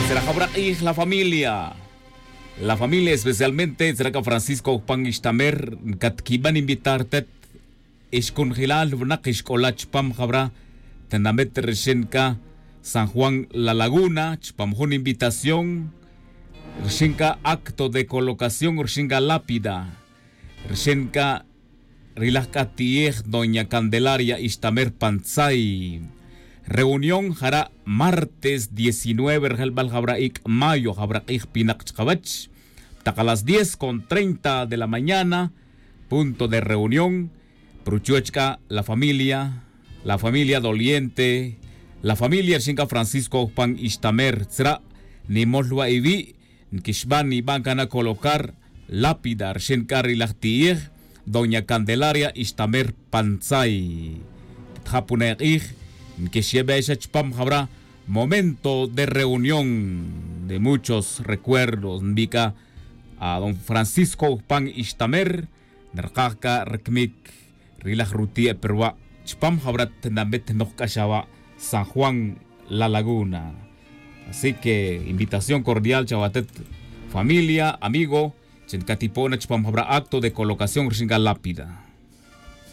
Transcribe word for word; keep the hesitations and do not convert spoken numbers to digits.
Tzra jawra k'ij la familia, la familia especialmente tzra k'a francisco jupan ixtamer, nkatkiban invitar tet ixkunjilal winak ixk'ola' chupam jawra tinamet rixin k'a san juan la laguna chupam jun invitación rixin k'a acto de colocación rixin k'a lápida rixin k'a ri laj k'a ti'ej doña candelaria ixtamer pantzay. Reunión jara' martes diecinueve rejelb'al jawra ik' mayo jawra q'ij pineq chqawech, taq a las diez con treinta de la mañana punto de reunión. Pero chuwech k'a la familia, la familia doliente, la familia rixin k'a francisco jupan ixtamer tzra' nimol wa' iwi' nkixban nib'an kan na colocar lápida rixin k'a ri laj ti'ij doña candelaria ixtamer pantzay. Tjapune' q'ij nkixyebe' xa chupam jawra momento de reunión de muchos recuerdos nb'i' k'a a don francisco jupan ixtamer. Nrqaj k'a rkmik ri laj ruti'e' perwa' chupam jawra tinamet noj k'a xa wa' san juan la laguna. Así que invitación cordial chawatet familia amigo chi nkatipo'na chupam jawra acto de colocación rixin k'a lápida.